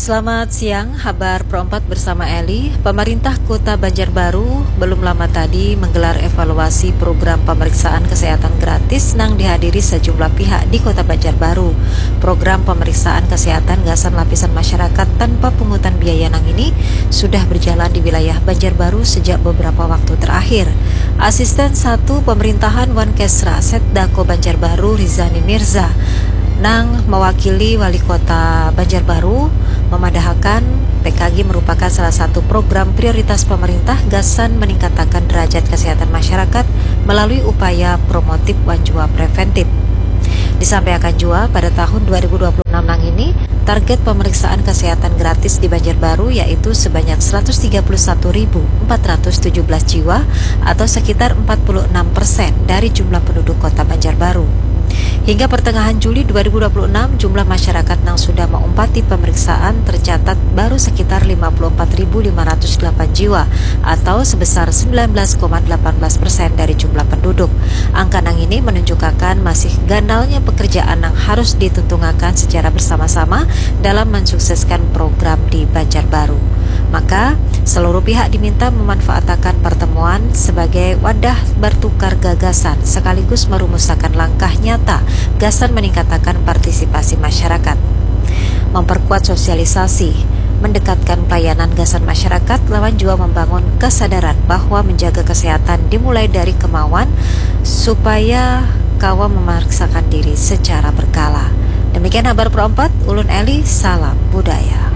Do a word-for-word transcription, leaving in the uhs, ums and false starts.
Selamat siang, habar Pro empat bersama Eli. Pemerintah Kota Banjarbaru belum lama tadi menggelar evaluasi program pemeriksaan kesehatan gratis nang dihadiri sejumlah pihak di Kota Banjarbaru. Program pemeriksaan kesehatan gasan lapisan masyarakat tanpa pungutan biaya nang ini sudah berjalan di wilayah Banjarbaru sejak beberapa waktu terakhir. Asisten satu Pemerintahan Wankesra Setdako Banjarbaru Rizani Mirza nang mewakili Wali Kota Banjarbaru memadahakan P K G merupakan salah satu program prioritas pemerintah gasan meningkatakan derajat kesehatan masyarakat melalui upaya promotif wan jua preventif. Disampaikan jua, pada tahun dua ribu dua puluh enam nang ini, target pemeriksaan kesehatan gratis di Banjarbaru yaitu sebanyak seratus tiga puluh satu ribu empat ratus tujuh belas jiwa atau sekitar empat puluh enam persen dari jumlah penduduk Kota Banjarbaru. Hingga pertengahan Juli dua ribu dua puluh enam, jumlah masyarakat nang sudah maumpati pemeriksaan tercatat baru sekitar lima puluh empat ribu lima ratus delapan jiwa atau sebesar sembilan belas koma delapan belas persen dari jumlah penduduk. Angka nang ini menunjukakan masih ganalnya pekerjaan nang harus dituntungakan secara bersama-sama dalam mensukseskan program di Banjarbaru. Maka, seluruh pihak diminta memanfaatakan pertemuan sebagai wadah bertukar gagasan sekaligus merumusakan langkah nyata gasan meningkatakan partisipasi masyarakat. Memperkuat sosialisasi, mendekatkan pelayanan gasan masyarakat lawan jua membangun kesadaran bahwa menjaga kesehatan dimulai dari kemauan supaya kawa memeriksakan diri secara berkala. Demikian habar Pro empat, ulun Eli, salam budaya.